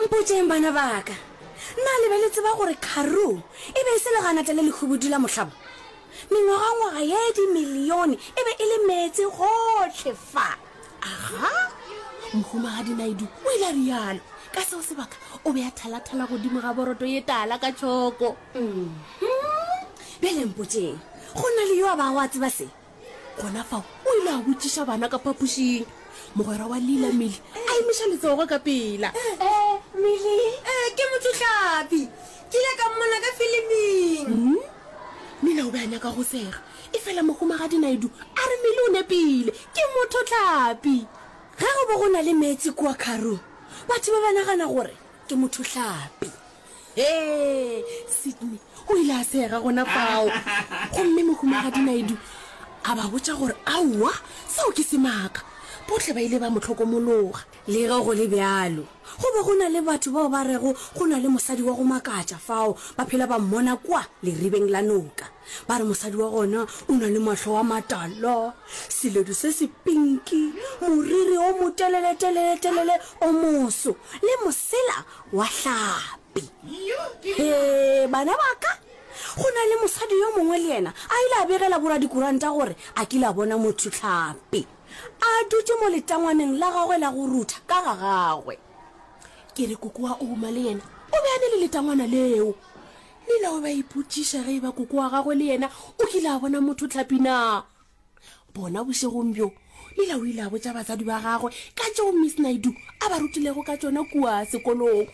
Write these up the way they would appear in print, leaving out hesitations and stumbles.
Mpotšeng bana ba ka, na le be le tseba gore Karoo e be e se leganata le lehubudu la mohlabo? Mengwagangwaga ye dimilione e be e le meetse gohle fa. Aga! Mohumagadi Naidoo o ile a realo. Ka seo sebaka o be a thalathala godimo ga boroto ye tala ka tšhoko. Bjale mpotšeng, go na le yo a bago a tseba se? Gona fao o ile a botšiša bana ka phapošing. Mogwera wa Lila, Millie, a emiša letsogo ka pela. Eh, Millie? Eh, ke mothohlapi. Ke ile ka mmona ka filiming. Hmm? Lila o be a nyaka go sega, efela Mohumagadi Naidoo a re Millie o nepile, ke mothohlapi. Ge go be go na le meetse kua Karoo, batho ba ba nagana gore ke mothohlapi. Hee! Sydney o ile a sega gona fao, gomme Mohumagadi Naidoo a ba botša gore aowa, seo ke semaka. Bohle ba ile ba mo hlokomologa. Le ge go le bjalo, go be go na le batho bao ba rego go na le mosadi wa go makatša fao, ba phela ba mmona kua leribeng la noka. Ba re mosadi wa gona o na le mahlo a matala, seledu se se pinki, moriri o motelele-telele-telele o moso le mosela wa hlapi. Hee, bana ba ka! Go na le mosadi yo mongwe le yena a ile a begela boradikuranta gore a kile a bona motho-hlapi a dutše mo letangwaneng la gagwe la go rutha ka ga gagwe. Ke re koko wa Ouma le yena o be a na le letangwana leo. Lila o be a ipotšiša ge e ba koko wa gagwe le yena o kile a bona motho-hlapi na. Bona bošegong bjo, Lila o ile a botša batswadi ba gagwe ka tšeo Miss Naidoo a ba rutilego ka tšona kua sekolong.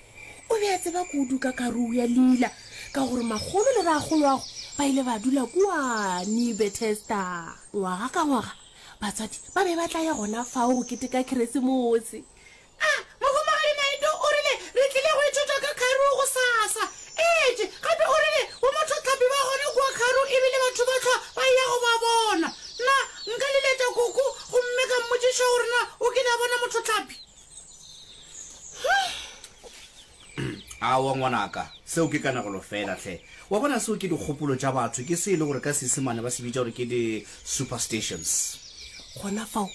O be a tseba kudu ka karoo ya Lila ka gore makgolo le rakgoloagwe ba ile ba dula kua New Bethesda. Ngwaga ka ngwaga, batswadi ba be ba tla ya gona fao go keteka Keresemose. A, Mohumagadi Naidoo o rile re tlile go ithuta ka Karoo gosasa. Etše, gape o rile bomothohlapi ba gona kua Karoo ebile batho ba hlwa ba eya go ba bona. Na nka leletša Koko gomme ka mmotšiša gore na o kile a bona mothohlapi? Aowa ngwanaka, seo ke kanegelo feela hle. Wa bona seo ke dikgopolo tša batho, ke se e le gore ka Seisemane ba se bitša gore ke di-superstitions. Gona fao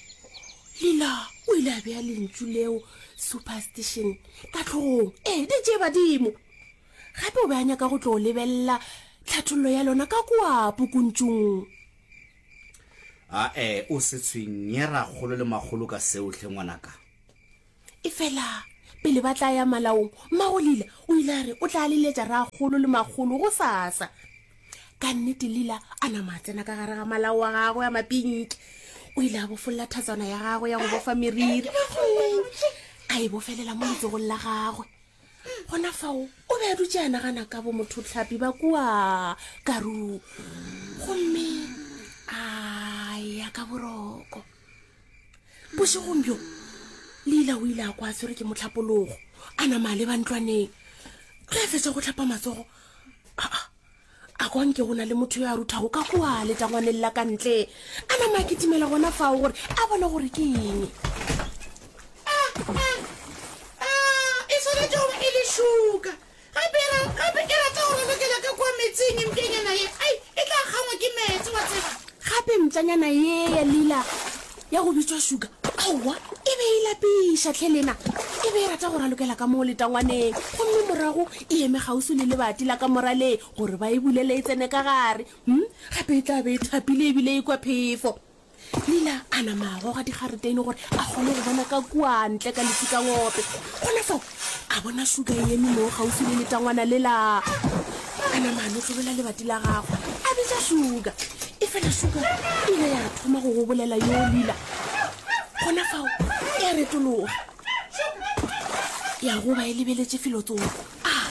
Lila o ile a bea lentšu leo superstition ka hlogong. Ee, di tšee badimo. Gape o be a nyaka go tlo lebelela tlhathollo ya lona ka kua pukuntšung. Ae, o se tshwenye rakgolo le makgolo ka seo hle ngwanaka. Efela pele ba tla ya malaong, mmago Lila o ile a re o tla leletša rakgolo le makgolo gosasa. Ka nnete Lila a nama a tsena ka gare ga malao a gagwe a mapinki. O ile a bofolla thatswana ya gagwe ya go bofa meriri gomme a e bofelela mo letsogong la gagwe. Gona fao o be a dutše a nagana ka bomothohlapi ba kua Karoo gomme a ya ka boroko. Bošegong bjo, Lila o ile a kwa a tshwerwe ke mohlapologo, a nama a leba ntlwaneng. Ge a fetša go hlapa matsogo, aa, a kwa nke go na le motho yo a ruthago ka kua letangwaneng la ka ntle. A nama a kitimela gona fao gore a bone gore ke eng. E swanetše go ba e le šuka. Gape e ra, gape e rata go ralokela ka kua meetseng, mpšanyana ye. Ai, e tla kgangwa ke meetse, wa tseba. Gape mpšanyana ye ya lila ya go bitšwa Shuka, aowa, e be e lapiša hle lena. E be e rata go ralokela ka moo letangwaneng, gomme morago e eme kgauswi le lebati la kamora le gore ba e bulele e tsene ka gare. Hm, gape e tla be e thapile ebile e kwa phefo. Lila a nama a goga digareteine gore a kgone go bona ka kua ntle ka letsikangope. Gona fao a bona Shuka e eme moo kgauswi le letangwana lela. A nama a notlolela lebati la gagwe, a bitša Shuka. Efela Shuka e ile ya thoma go gobolela yo Lila. Gona fao ya retologa ya goba e lebeletše felotsoko. A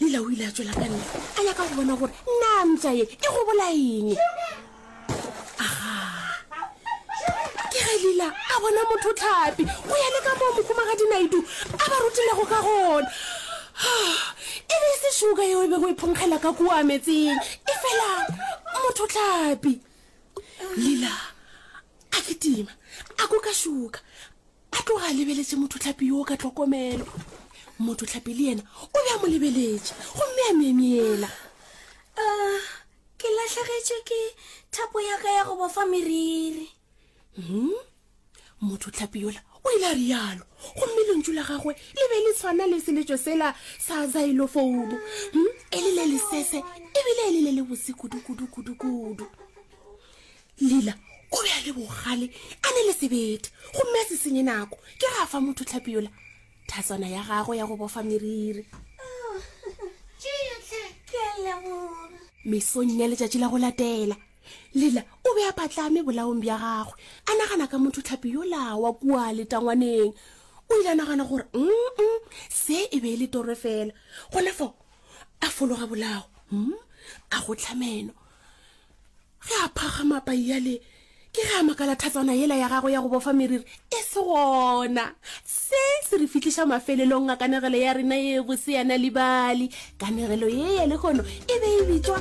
Lila o ile a tšwela ka ntle a nyaka go bona gore na mpša ye e gobola eng. Aga! Ke ge Lila a bona motho tlhapi go ya le ka moo Mohumagadi Naidoo a ba rutilego ka gona. E be e se šuka yeo e bego e phonkgela ka kua metseng, efela motho tlhapi. Lila a kitima a kuka šuka, a tloga a lebeletše motho tlhapi yoo ka tlhokomelo. Motho tlhapi le yena o be a mo lebeletše gomme a myemyela. Ke lahlegetšwe ke thapo ya ka ya go bofa meriri. Hmm? Motho tlhapi yola O ile a rialo, gomme lentšu la gagwe le be le tshwana le seletšo sela sa zailofouno, hm, e le le lesese ebile e le le lebose kudu-kudu-kudu-kudu. Lila o be a le bogale, a ne le sebete, gomme a se senye nako, ke ge a fa motho tlhapi yola thatswana ya gagwe ya go bofa meriri. Mesong ya letšatši la go latela, Lila o be a patlame bolaong bja gagwe, a nagana ka motho tlhapi yola wa kua letangwaneng. O ile a nagana gore, Mm-mm, se e be e le toro fela. Gona fao a fologa bolao, mm, a gotla meno. Ge a phagama paiyale, ke ge a makala thatswana yela ya gagwe ya go bofa meriri e se gona. Se se re fihliša mafelelong a kanegelo ya rena ye bose ya Nal'ibali. Kanegelo ye ya lehono e be e bitšwa.